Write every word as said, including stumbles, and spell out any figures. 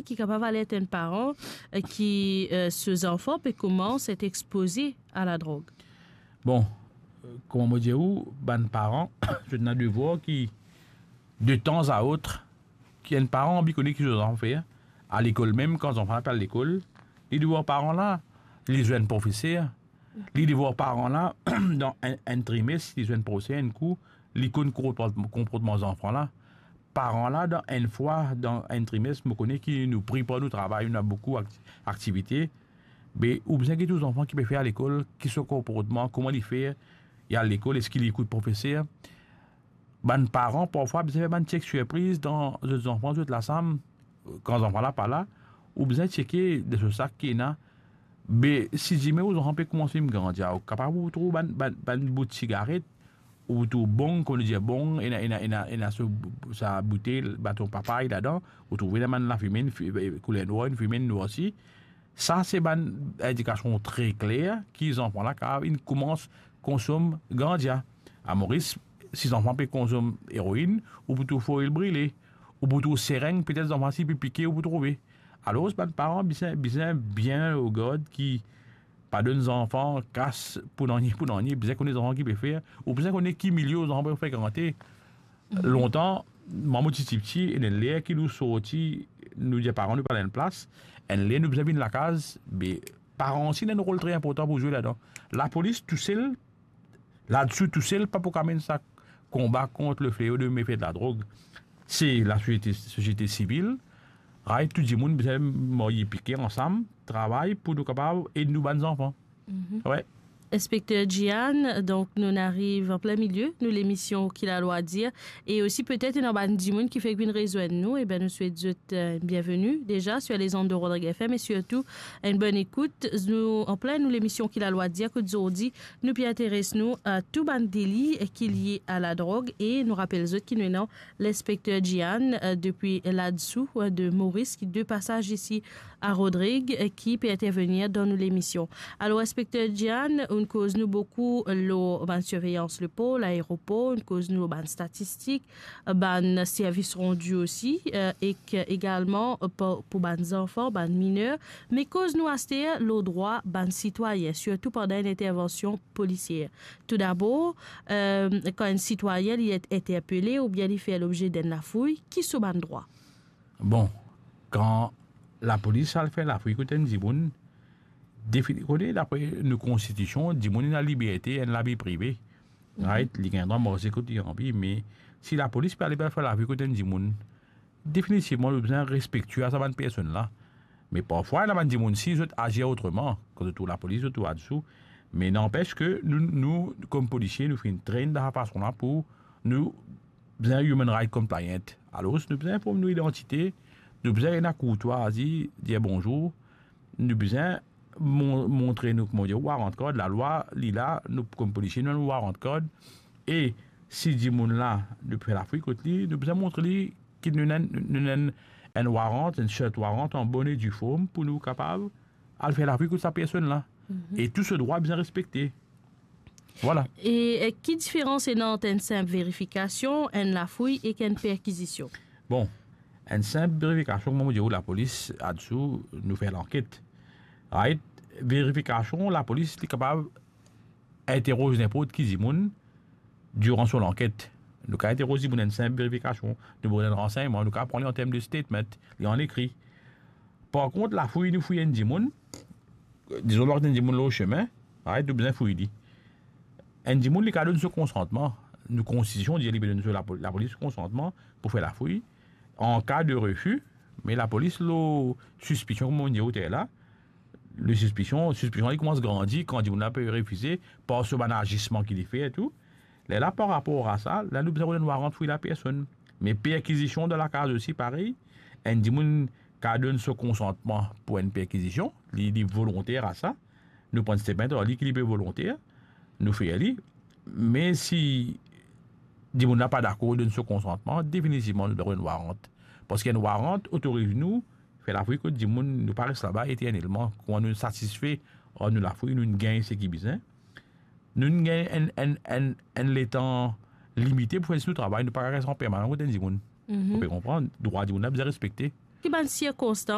ki kapav alert enn paran, eh, ki, eh, so zanfan pe koumans et expoze a ladrog? Bon, eh, kouma mo dir ou, bann paran, zot ena devwar ki, de tan a ot, ki enn paran anvi kone ki so zanfan fer, a lekol mem, kan zanfan la pe al lekol, li devoir paran la, li zwenn profeser, li devoir paran la, dan enn, enn trimes, li zwenn profeser enn kou, li konn konport-, konportman zanfan la. Paran la, dan enn fwa, dan enn trimes, mo kone ki nou pri par nou travay, nou ena boukou akt-, aktivite. Me ou bizin get ou zanfan ki pe fer a lekol, ki so konportman, kouma li fer, li al lekol, eski li ekout profeser. Bann paran, parfwa, bizin fer bann chek sirpriz dan zot zanfan, zot lasam, kan zanfan la pa la, ou bizin cheke dan so sak ki ena. Be, si zime ou zanfan pe koumans vinn grandi, ou kapav ou trouv bann, bann, bann bout sigaret, ou trouv bong, kouma nou dir bong, ena, ena, ena, ena so, sa boutel, baton papay ladan, ou trouv ena bann lafime, enn fi-, kouler nwar, enn fime, enn nwar osi. Sa se bann indikasion tre kler ki zanfan la kapav inn koumans konsom ganja. A Moris, si zanfan pe konsom eroinn, ou pou trouv foil brile, ou pou trouv sereng, petet zanfan si pe pike, ou pou trouve. Alor, bann paran bizin, bizin bien o gard ki pa donn zanfan kas pou nanye, pou nanye, bizin kone zanfan ki pe fer, ou bizin kone ki milie zanfan pe frekante. Lontan, mwa mo ti, ti piti, ena enn ler ki nou sorti, nou dir paran nou pa ena enn plas, enn ler nou bizin vinn lakaz, be paran osi ena enn rol tre inportan pou zwe ladan. Lapolis tousel, ladsi tousel, pa pou kapav mennen sa konba kont lefleo de mefe de ladrog. Se lasosiete, sosiete sivil, right, tou dimoun bizin marye pike ansam, travay pou nou kapav ed nou bann zanfan. Mhm. Wi. Inspekter Gian, donk nou ariv an plin milie nou lemision Ki Lalwa Dir, e osi petet ena bann dimoun ki fek vinn rezwenn nou, e ben nou swet zot, eh, bienveni deza sur les ondes de Rodrigue F M e sirtou enn bonn ekout. Nou an plin nou lemision Ki Lalwa Dir, kot zordi nou pe interes nou a tou bann deli ki lie a ladrog, e nou rapel zot ki nou ena Linspekter Gian, eh, depi Ladsou, eh, de Moris, ki de pasaz isi a Rodrig, eh, ki pe intervenir dan nou lemision. Alor, Inspekter Gian, ou'nn koz nou boukou lor bann sirveyans lepor, laeropor, ou'nn koz nou lor bann statistik, bann servis randi osi, eh, ek egalman, eh, pou, pou bann zanfan, bann miner, me koz nou aster lor drwa bann sitwayin, sirtou pandan enn intervansion polisier. Toudabor, eh, kan enn sitwayin li et interpele oubien li fer lobze d'enn lafouy, ki so bann drwa? Bon, kan lapolis al fer lafouy kot enn dimoun, defini-, kone, dapre nou konstitision, dimoun ena liberte, enn lavi prive. Mhm. Right? Li gagn drwa marse kot li anvi, me si lapolis pe al fer lafouy kot enn dimoun, definitivman, nou bizin respektie a sa bann personn la. Me parfwa, ena bann dimoun si zot azir otreman, kan zot trouv lapolis, zot trouv Adsou. Me nanpes ke nou, nou, kom polisie, nou finn train dan sa fason la pou nou bizin human right compliant. Alor, nou bizin inform nou idantite, nou bizin ena kourtwazi, dir bonzour, nou bizin mon-, montre nou, kouma dir, warrant card, lalwa, li la, nou, kom polisie, nou ena warrant card. E si dimoun la, nou pe fer lafouy kot li, nou bizin montre li ki nou ena, nou ena enn warrant, enn search warrant an bonn e due form pou nou kapav al fer lafouy kot sa personn la. Mhm. E tou so drwa bizin respekte. Vwala. E, eh, ki diferans ena ant enn sinp verifikasion, enn lafouy ek enn perkizision? Bon, enn sinp verifikasion, kouma mo dir ou, lapolis, Adsou, nou fer lanket. Right? Verifikasion, lapolis, li kapav interoz ninport ki dimoun diran so lanket. Nou kapav interoz dimoun, enn sinp verifikasion, nou donn enn ransegnman, nou kapav pran li an term de statement, li an ekri. Par kont, lafouy, nou fouy enn dimoun, dizon, nou aret enn dimoun lor sime, right, nou bizin fouy li. Enn dimoun, li kapav donn so konsantman. Nou konstitision dir li pe donn so lapo-, lapolis so konsantman pou fer lafouy. An ka de refi, me lapolis lor sispision, kouma nou dir aster la, le sispision, sispision li koumans grandi kan dimoun la pe refize par so bann azisman ki li fer tou. Lerla, par rapor a sa, la nou bizin donn warrant fouy lapersonn. Me perkizision dan lakaz osi, parey, enn dimoun kapav donn so konsantman pou enn perkizision, li, li volonter a sa. Nou pran statement ar li ki li pe volonter, nou fer li. Me si dimoun la pa dakor donn so konsantman, definitivman nou donn enn warrant. Parski enn warrant otoriz nou fer lafouy kot dimoun, nou pa res laba eternelman. Kouma nou satisfe ar nou lafouy, nou gagn seki bizin. Nou gagn enn, enn, enn, enn letan limite pou fer zis nou travay, nou pa kapav res an permanan kot enn dimoun. Mhm. Ou pe konpran, drwa dimoun la bizin respekte. Ki bann sirkonstans